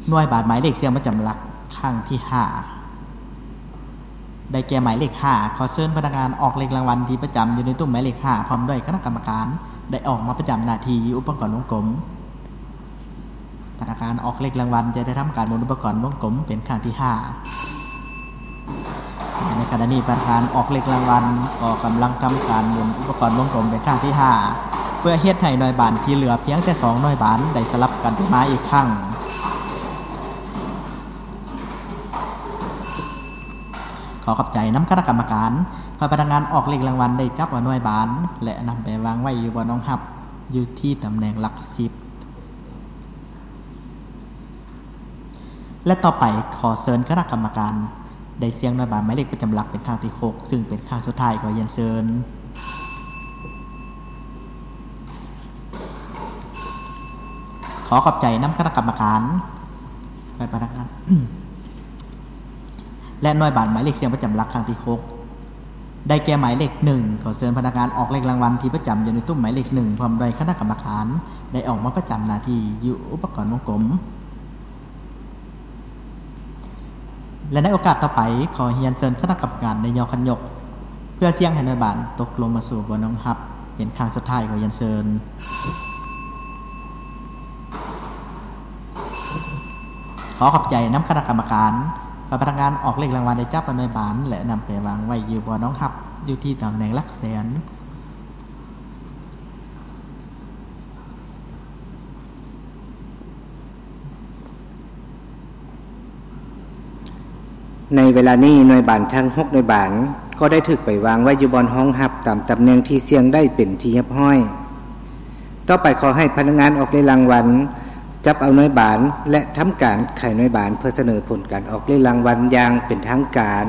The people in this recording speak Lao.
ໜ່ວຍບາດໝາຍເລກສ່ຽງປະຈຳຫຼັກຄັ້ງທີຫ້າ ໄດ້ແກ່ໝາຍເລກຫ້າ. ຂໍເຊີນພະນັກງານອອກເລກລາງວັນທີ່ປະຈຳຢູ່ໃນຕຸ້ມໝາຍເລກຫ້າ ພ້ອມດ້ວຍຄະນະກຳມະການ ໄດ້ອອກມາປະຈຳໜ້າທີ່ຢູ່ອຸປະກອນວົງກົມ. ພະນັກງານອອກເລກລາງວັນຈະໄດ້ທຳການໝູນອຸປະກອນວົງກົມເປັນຄັ້ງທີຫ້າ. ໃນຂະນະນີ້ ພະນັກງານອອກເລກລາງວັນກໍກຳລັງທຳການໝູນອຸປະກອນວົງກົມເປັນຄັ້ງທີຫ້າ ເພື່ອເຮັດໃຫ້ໜ່ວຍບານທີ່ເຫຼືອພຽງແຕ່ສອງໜ່ວຍບານໄດ້ສະຫຼັບກັນໄປມາອີກຄັ້ງ. ຂໍຂອບໃຈນຳຄະນະກຳມະການ. ພະນັກງານອອກເລກລາງວັນໄດ້ຈັບເອົາໜ່ວຍບານ ແລະ ນຳໄປວາງໄວ້ຢູ່ບ່ອນຮອງຮັບ ຢູ່ທີ່ຕຳແໜ່ງຫຼັກສິບ. ແລະ ຕໍ່ໄປ ຂໍເຊີນຄະນະກຳມະການໄດ້ສ່ຽງໜ່ວຍບານໝາຍເລກປະຈຳຫຼັກເປັນຄັ້ງທີຫົກ ຊຶ່ງເປັນຄັ້ງສຸດທ້າຍ. ຂໍຮຽນເຊີນ. ຂໍຂອບໃຈນຳຄະນະກຳມະການ ແລະ ພະນັກງານ ແລະ ໜ່ວຍບານໝາຍເລກສ່ຽງປະຈຳຫຼັກຄັ້ງທີຫົກ ໄດ້ແກ່ໝາຍເລກໜຶ່ງ. ຂໍເຊີນພະນັກງານອອກເລກລາງວັນທີ່ປະຈຳຢູ່ໃນຕຸ້ມໝາຍເລກໜຶ່ງ ພ້ອມດ້ວຍຄະນະກຳມະການ ໄດ້ອອກມາປະຈຳໜ້າທີ່ຢູ່ອຸປະກອນວົງກົມ. ແລະ ໃນໂອກາດຕໍ່ໄປ ຂໍຮຽນເຊີນຄະນະກຳມະການໄດ້ຍໍຄັນຍົກ ເພື່ອສ່ຽງໃຫ້ໜ່ວຍບານຕົກລົງມາສູ່ບ່ອນຮອງຮັບເປັນຄັ້ງສຸດທ້າຍ. ຂໍຮຽນເຊີນ. ຂໍຂອບໃຈນຳຄະນະກຳມະການ. ພະນັກງານອອກເລກລາງວັນໄດ້ຈັບເອົາໜ່ວຍບານ ແລະ ນຳໄປວາງໄວ້ຢູ່ບ່ອນຮອງຮັບ ຢູ່ທີ່ຕຳແໜ່ງຫຼັກແສນ. ໃນເວລານີ້ ໜ່ວຍບານທັງຫົກໜ່ວຍບານ ກໍໄດ້ຖືກໄປວາງໄວ້ຢູ່ບ່ອນຮອງຮັບຕາມຕຳແໜ່ງທີ່ສ່ຽງໄດ້ເປັນທີ່ຮຽບຮ້ອຍ. ຕໍ່ໄປ ຂໍໃຫ້ພະນັກງານອອກເລກລາງວັນ ຈັບເອົາໜ່ວຍບານ ແລະ ທຳການໄຂໜ່ວຍບານ ເພື່ອສະເໜີຜົນການອອກເລກລາງວັນຢ່າງເປັນທາງການ.